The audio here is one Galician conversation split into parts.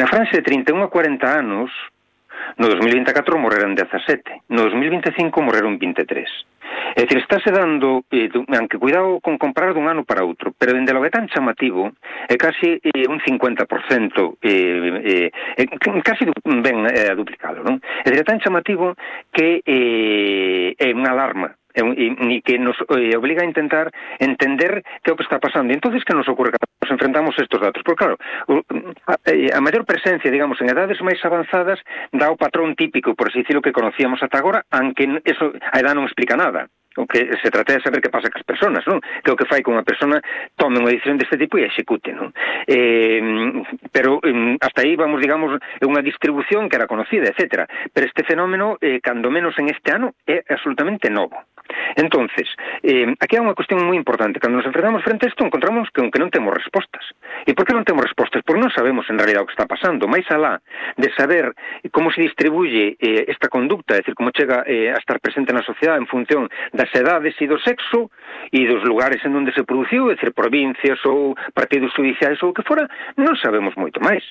na franxa de 31 a 40 anos, no 2024 morreron 17, no 2025 morreron 23. É dicir, estáse dando, aunque cuidado con comparar dun ano para outro, pero dende logo é tan chamativo, é casi un 50%, casi ben duplicado, non? É dicir, é tan chamativo que é unha alarma, e que nos obliga a intentar entender que é o que está pasando. E entonces que nos ocorre cando nos enfrentamos a estes datos? Porque claro, a maior presencia, digamos, en edades máis avanzadas dá o patrón típico, por así decirlo, que conocíamos ata agora, aunque eso a edad non explica nada. O que se trata de saber que pasa cas persoas, non? Que o que fai con unha persona tome unha decisión deste tipo e execute, non? Pero hasta aí vamos, digamos, unha distribución que era conocida, etcétera. Pero este fenómeno, cando menos en este ano, é absolutamente novo. Entonces, aquí hai unha cuestión moi importante. Cando nos enfrentamos frente a isto, encontramos que non temos respostas. E por que non temos respostas? Porque non sabemos en realidad o que está pasando. Mais alá de saber como se distribuye esta conducta, é dicir, como chega a estar presente na sociedade en función das edades e do sexo e dos lugares en onde se produciu, é dicir, provincias ou partidos judiciais ou o que fora, non sabemos moito máis.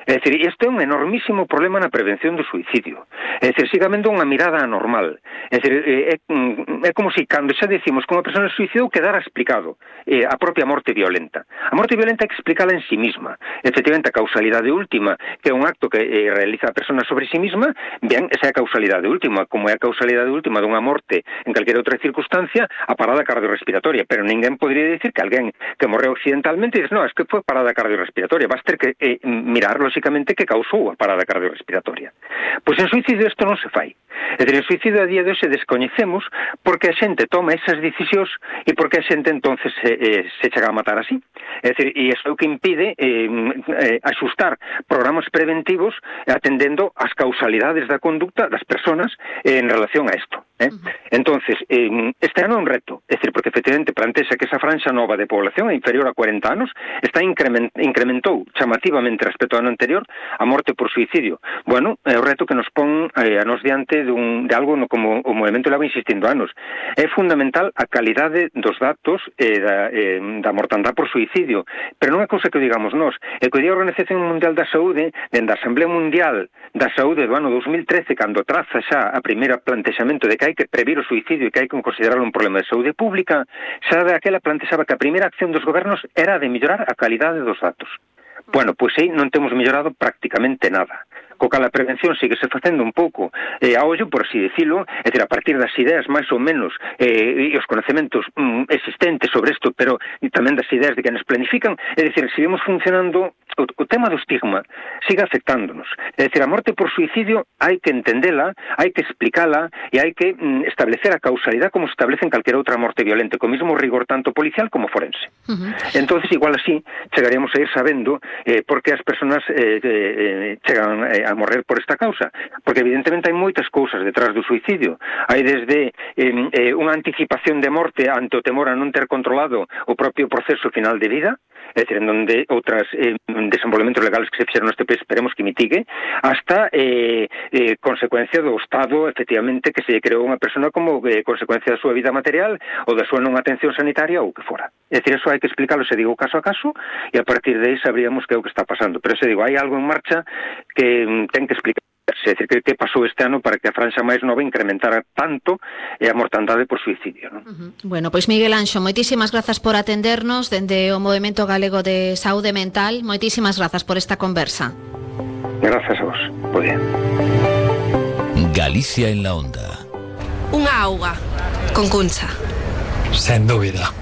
É dicir, este é un enormísimo problema na prevención do suicidio. É dicir, siga habendo unha mirada anormal. É dicir, é como se cando xa decimos que unha persona se suicidou quedara explicado a propia morte violenta. A morte violenta hai que explicala en sí misma. Efectivamente, a causalidade última, que é un acto que realiza a persona sobre sí misma, ben, esa é a causalidade última, como é a causalidade última dunha morte en calquera outra circunstancia, a parada cardiorrespiratoria. Pero ninguén podría dicir que alguén que morreu accidentalmente dice, no, es que foi parada cardiorrespiratoria. Vas ter que mirar, lógicamente, que causou a parada cardiorrespiratoria. Pois en suicidio isto non se fai. É dicir, en suicidio a día de hoxe descoñecemos porque a xente toma esas decisións e porque a xente entonces se chega a matar así. É dicir, e iso é o que impide axustar programas preventivos atendendo as causalidades da conducta das persoas en relación a isto. Entonces, este ano é un reto, é dicir, porque efectivamente plantexa que esa franxa nova de población inferior a 40 anos está incrementou chamativamente respecto ao ano anterior a morte por suicidio. Bueno, é o reto que nos pon a nos diante de algo como o movimento leva insistindo anos. É fundamental a calidade dos datos da mortandade por suicidio, pero non é cousa que digamos nós, é que o Día da Organización Mundial da Saúde, dende a Asamblea Mundial da Saúde do ano 2013, cando traza xa a primeira plantexamento de que hai que previr o suicidio e que hai que considerarlo un problema de saúde pública, xa daquela plantexaba que a primeira acción dos gobernos era de mellorar a calidade dos datos. Bueno, pois aí non temos mellorado prácticamente nada. Co cal a prevención síguese facendo un pouco a ollo, por así decirlo, é dicir, a partir das ideas máis ou menos e os conhecementos existentes sobre isto, pero tamén das ideas de que nos planifican, é dicir, seguimos funcionando, o tema do estigma sigue afectándonos. É dicir, a morte por suicidio hai que entendela, hai que explicala e hai que establecer a causalidade como se establece en calquera outra morte violenta, co mismo rigor tanto policial como forense. Entonces, igual así, chegaríamos a ir sabendo por que as persoas chegan a morrer por esta causa, porque evidentemente hai moitas cousas detrás do suicidio. Hai desde unha anticipación de morte ante o temor a non ter controlado o propio proceso final de vida, é dicir, en donde outras desenvolvementos legales que se fixeron neste país esperemos que mitigue, hasta consecuencia do estado, efectivamente, que se creou unha persona como consecuencia da súa vida material ou da súa non atención sanitaria ou que fora. É dicir, eso hai que explicarlo, se digo, caso a caso, e a partir de aí sabríamos que é o que está pasando. Pero se digo, hai algo en marcha que ten que explicar. É dicir, que pasou este ano para que a franxa máis nova incrementara tanto a mortandade por suicidio, non? Bueno, pois Miguel Anxo, moitísimas grazas por atendernos dende o Movemento Galego de Saúde Mental. Moitísimas grazas por esta conversa. Grazas a vos. Muy bien. Galicia en la onda. Unha auga con Cuncha. Sen dúbida.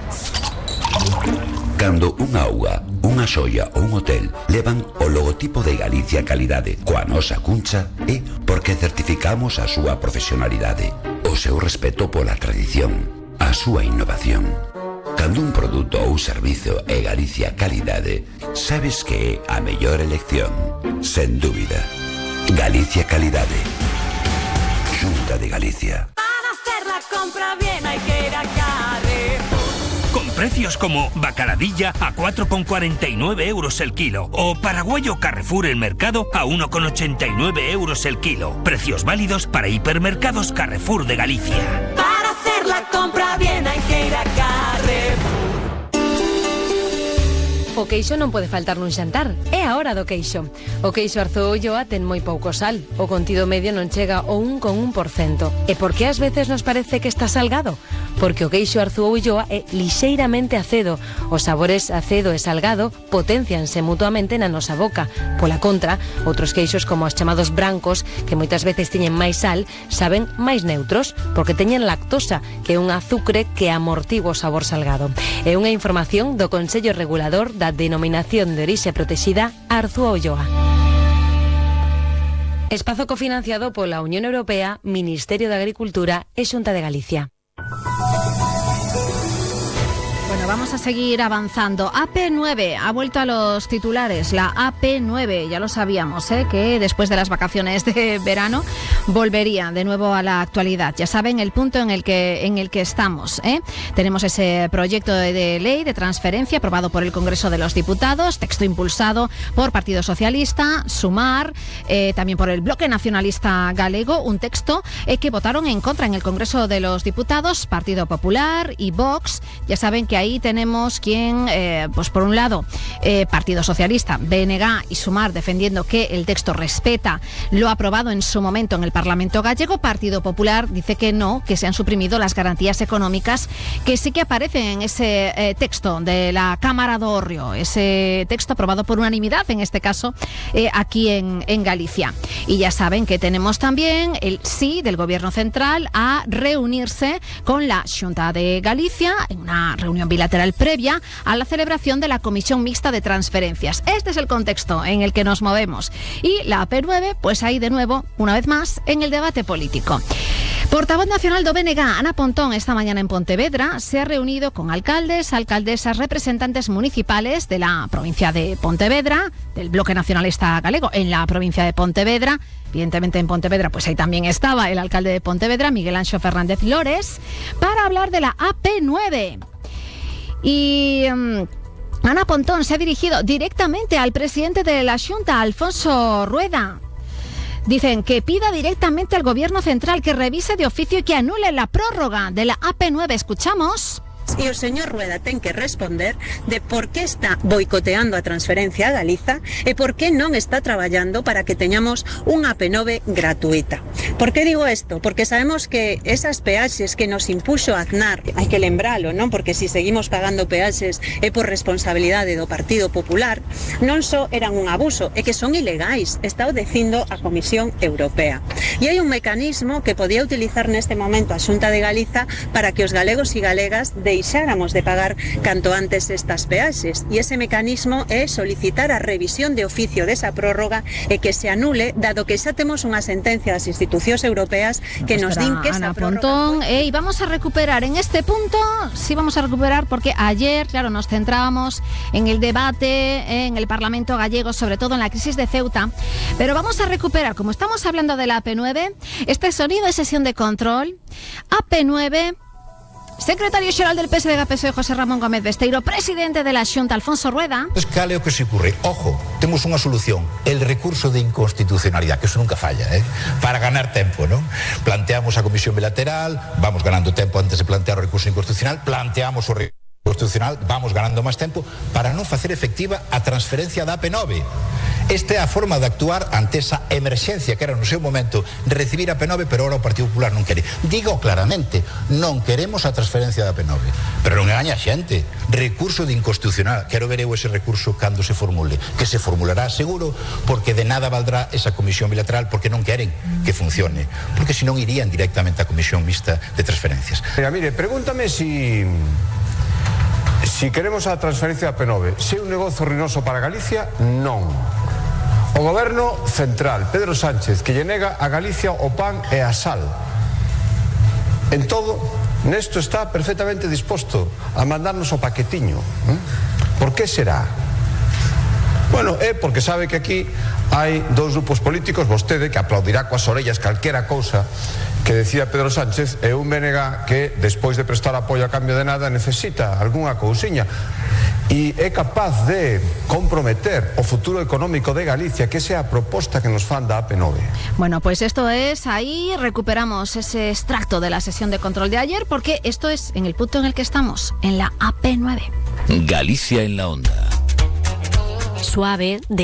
Cando unha auga, unha xoia ou un hotel levan o logotipo de Galicia Calidade coa nosa Cuncha, é porque certificamos a súa profesionalidade, o seu respeto pola tradición, a súa innovación. Cando un produto ou servizo é Galicia Calidade, sabes que é a mellor elección, sen dúbida. Galicia Calidade. Xunta de Galicia. Para hacer la compra bien hay que ir a Carrefour. Con precios como bacaladilla a 4,49 euros el kilo o paraguayo Carrefour el mercado a 1,89 euros el kilo. Precios válidos para hipermercados Carrefour de Galicia. Para hacer la compra bien hay que ir a Carrefour. O queixo non pode faltar nun xantar. É a hora do queixo. O queixo Arzúa Ulloa ten moi pouco sal. O contido medio non chega ao 1,1%. E por que ás veces nos parece que está salgado? Porque o queixo Arzúa Ulloa é lixeiramente acedo. Os sabores acedo e salgado potencianse mutuamente na nosa boca. Pola contra, outros queixos como os chamados brancos, que moitas veces teñen máis sal, saben máis neutros, porque teñen lactosa, que é un azucre que amortigua o sabor salgado. É unha información do Consello Regulador da Denominación de Orixe Protexida Arzúa Ulloa. Espazo cofinanciado pola Unión Europea, Ministerio de Agricultura e Xunta de Galicia. Bueno, vamos a seguir avanzando. AP9 ha vuelto a los titulares. La AP9, ya lo sabíamos, que después de las vacaciones de verano volvería de nuevo a la actualidad. Ya saben el punto en el que estamos. Tenemos ese proyecto de ley de transferencia aprobado por el Congreso de los Diputados, texto impulsado por Partido Socialista, Sumar, también por el Bloque Nacionalista Galego, un texto que votaron en contra en el Congreso de los Diputados, Partido Popular y Vox. Ya saben que ahí tenemos quien, pues por un lado, Partido Socialista, BNG y Sumar defendiendo que el texto respeta lo aprobado en su momento en el Parlamento gallego. Partido Popular dice que no, que se han suprimido las garantías económicas que sí que aparecen en ese texto de la Cámara do Hórreo, ese texto aprobado por unanimidad, en este caso, aquí en Galicia. Y ya saben que tenemos también el sí del Gobierno Central a reunirse con la Xunta de Galicia en una reunión bilateral previa a la celebración de la Comisión Mixta de Transferencias. Este es el contexto en el que nos movemos. Y la AP9, pues ahí de nuevo, una vez más, en el debate político. Portavoz nacional do BNG, Ana Pontón, esta mañana en Pontevedra, se ha reunido con alcaldes, alcaldesas, representantes municipales de la provincia de Pontevedra, del Bloque Nacionalista Galego en la provincia de Pontevedra. Evidentemente en Pontevedra, pues ahí también estaba el alcalde de Pontevedra, Miguel Anxo Fernández Lores, para hablar de la AP9. Y Ana Pontón se ha dirigido directamente al presidente de la Xunta, Alfonso Rueda. Dicen que pida directamente al Gobierno Central que revise de oficio y que anule la prórroga de la AP9. Escuchamos. E o señor Rueda ten que responder de por que está boicoteando a transferencia a Galiza e por que non está traballando para que teñamos unha AP9 gratuita. Por que digo isto? Porque sabemos que esas peaxes que nos impuxo Aznar, hai que lembralo, non? Porque se seguimos pagando peaxes é por responsabilidade do Partido Popular, non só eran un abuso, é que son ilegais, está o dicindo a Comisión Europea. E hai un mecanismo que podía utilizar neste momento a Xunta de Galiza para que os galegos e galegas deixáramos de pagar canto antes estas peaxes, e ese mecanismo é solicitar a revisión de oficio desa prórroga e que se anule, dado que xa temos unha sentencia das institucións europeas que nos din que esa prórroga... y vamos a recuperar en este punto, sí vamos a recuperar, porque ayer, claro, nos centrábamos en el debate en el Parlamento gallego, sobre todo en la crisis de Ceuta, pero vamos a recuperar, como estamos hablando de la AP9, este sonido de sesión de control, AP9... Secretario Xeral del PSDG-PSOE, José Ramón Gómez Besteiro, presidente de la Xunta, Alfonso Rueda. Cal é o que se ocurre? Ojo, temos unha solución, el recurso de inconstitucionalidade, que eso nunca falla, para ganar tempo, ¿no? Planteamos a comisión bilateral, vamos ganando tempo antes de plantear o recurso inconstitucional, planteamos o recurso constitucional, vamos ganando máis tempo para non facer efectiva a transferencia da AP9. Esta é a forma de actuar ante esa emerxencia que era no seu momento recibir a AP9, pero ahora o Partido Popular non quere. Digo claramente, non queremos a transferencia da AP9, pero non engaña a xente. Recurso de inconstitucional, quero ver eu ese recurso cando se formule, que se formulará seguro, porque de nada valdrá esa comisión bilateral, porque non queren que funcione, porque senón irían directamente á comisión mixta de transferencias. Mire, pregúntame si queremos a transferencia da AP9, se é un negocio ruinoso para Galicia, non. O Goberno Central, Pedro Sánchez, que lle nega a Galicia o pan e a sal. En todo, nesto está perfectamente disposto a mandarnos o paquetiño. Por que será? Bueno, é porque sabe que aquí hai dous grupos políticos, vostede, que aplaudirá coas orellas calquera cousa que decía Pedro Sánchez, e un BNG que, despois de prestar apoio a cambio de nada, necesita algunha cousiña. E é capaz de comprometer o futuro económico de Galicia, que esa é a proposta que nos fan da AP9. Bueno, pues esto es, ahí recuperamos ese extracto de la sesión de control de ayer, porque esto es en el punto en el que estamos, en la AP9. Galicia en la onda. suave, de